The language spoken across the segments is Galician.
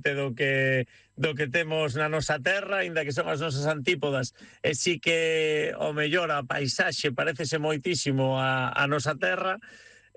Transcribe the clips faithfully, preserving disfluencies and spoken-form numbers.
do que do que temos na nosa terra, aínda que son as nosas antípodas, e sí que o mellor a paisaxe parécese moitísimo a, a nosa terra.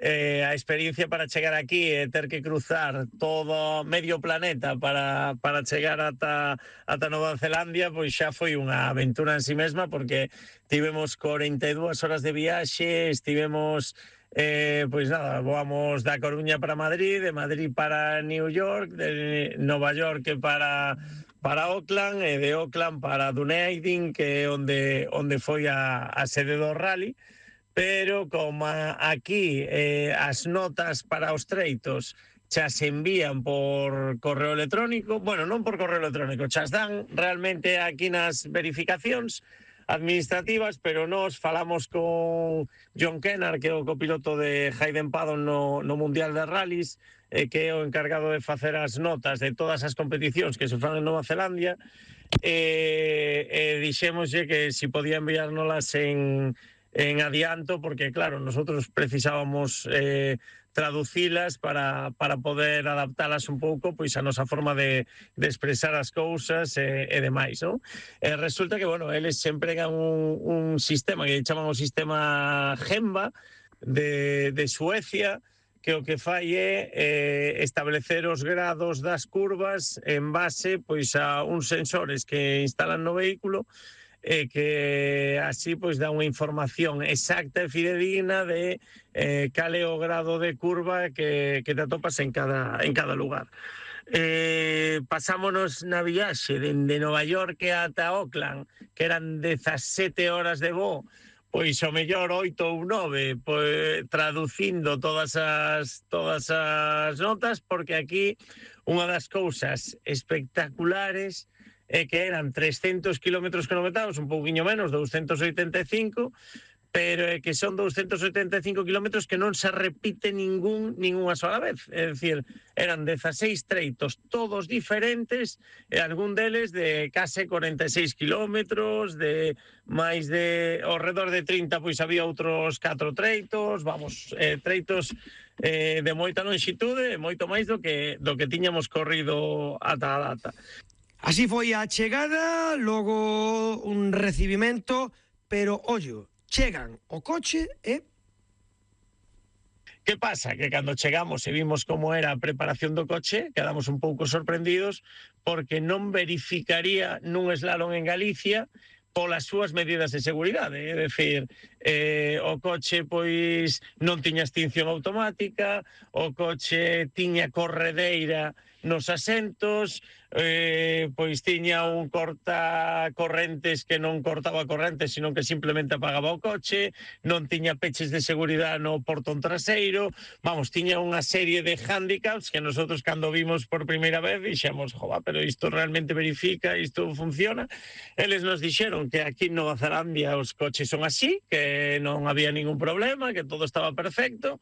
Eh, a experiencia para chegar aquí e ter que cruzar todo medio planeta para, para chegar ata, ata Nova Zelandia, pois xa foi unha aventura en sí mesma, porque tivemos cuarenta y dos horas de viaxe, estivemos eh, pois nada, voamos da Coruña para Madrid, de Madrid para New York, de Nova York para para Auckland, e de Auckland para Dunedin, que é onde onde foi a, a sede do rally. Pero como aquí eh, as notas para os treitos xa se envían por correo electrónico, bueno, non por correo electrónico, xa dan realmente aquí nas verificacións administrativas, pero nos falamos con John Kennard, que é o copiloto de Hayden Paddon no, no Mundial de Rallys, eh, que é o encargado de facer as notas de todas as competicións que se fan en Nova Zelandia, e eh, eh, dixémoslle que si podía enviárnoslas en en adianto, porque claro, nosotros precisábamos eh, traducilas para, para poder adaptalas un pouco pois a nosa forma de, de expresar as cousas e, e demais, non? E resulta que, bueno, eles se empregan un, un sistema que chaman o sistema Gemba de, de Suecia, que o que fai é eh, establecer os grados das curvas en base pois a uns sensores que instalan no vehículo, e que así pois dá unha información exacta e fidedigna de eh, cal é o grado de curva que, que te atopas en cada, en cada lugar. Eh, pasámonos na viaxe dende Nova York ata Auckland, que eran dezasete horas de voo, pois o mellor oito ou nove, pois, traducindo todas as, todas as notas, porque aquí unha das cousas espectaculares é que eran trescentos kilómetros cronometrados, un pouquiño menos, doscientos oitenta e cinco, pero é que son doscientos oitenta e cinco kilómetros que non se repite ningún ninguna sola vez. É dicir, eran dezaseis treitos, todos diferentes, e algún deles de case cuarenta e seis kilómetros, de máis de, ao redor de trinta, pois había outros catro treitos, vamos, eh, treitos eh, de moita lonxitude, moito máis do que, do que tiñamos corrido ata a data. Así foi a chegada, logo un recibimento, pero, ollo, chegan o coche e... Que pasa? Que cando chegamos e vimos como era a preparación do coche, quedamos un pouco sorprendidos porque non verificaría nun slalom en Galicia polas súas medidas de seguridade, é dicir, eh, o coche pois non tiña extinción automática, o coche tiña corredeira nos asentos, eh, pois tiña un cortacorrentes que non cortaba correntes, sino que simplemente apagaba o coche, non tiña peches de seguridade no portón traseiro, vamos, tiña unha serie de handicaps que nosotros cando vimos por primeira vez dixemos, jova, pero isto realmente verifica, isto funciona. Eles nos dixeron que aquí en Nova Zelandia os coches son así, que non había ningún problema, que todo estaba perfecto,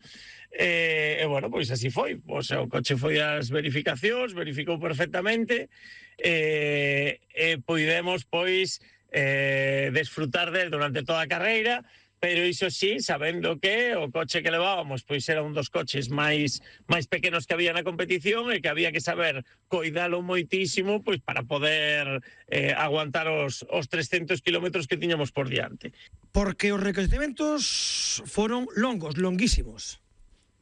e, e bueno, pois así foi. O sea, o coche foi ás verificacións, verificou perfectamente, e, e poidemos, pois, eh, desfrutar del durante toda a carreira, pero iso sí, sabendo que o coche que levábamos pois era un dos coches máis máis pequenos que había na competición e que había que saber coidalo moitísimo pois para poder eh, aguantar os, os trescentos kilómetros que tiñamos por diante. Porque os reconhecimentos foron longos, longuísimos.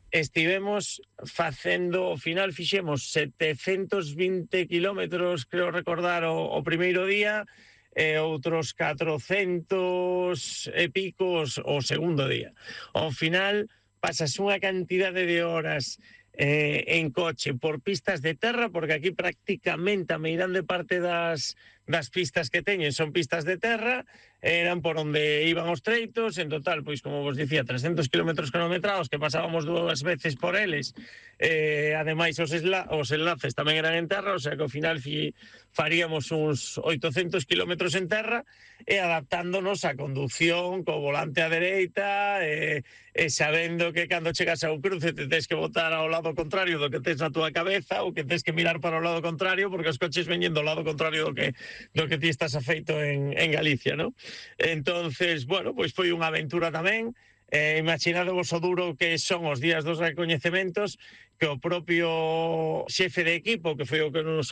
Estivemos facendo, ao final fixemos setecentos vinte kilómetros, creo recordar, o, o primeiro día, e outros catrocentos e picos o segundo día. Ao final pasas unha cantidade de horas eh, en coche por pistas de terra, porque aquí prácticamente a meirande parte das, das pistas que teñen son pistas de terra, eran por onde iban os treitos, en total, pois como vos dicía, trescentos kilómetros cronometrados que pasábamos dúas veces por eles, eh, ademais os, esla, os enlaces tamén eran en terra, o sea que ao final fi, faríamos uns oitocentos kilómetros en terra e adaptándonos á conducción co volante á dereita e, e sabendo que cando chegas ao cruce te tens que botar ao lado contrario do que tens na túa cabeza ou que tens que mirar para o lado contrario porque os coches veñen do lado contrario do que, do que ti estás afeito en, en Galicia, non? Entonces, bueno, pois foi unha aventura tamén. Eh, imaginade vos o duro que son os días dos recoñecementos, que o propio xefe de equipo, que foi o que nos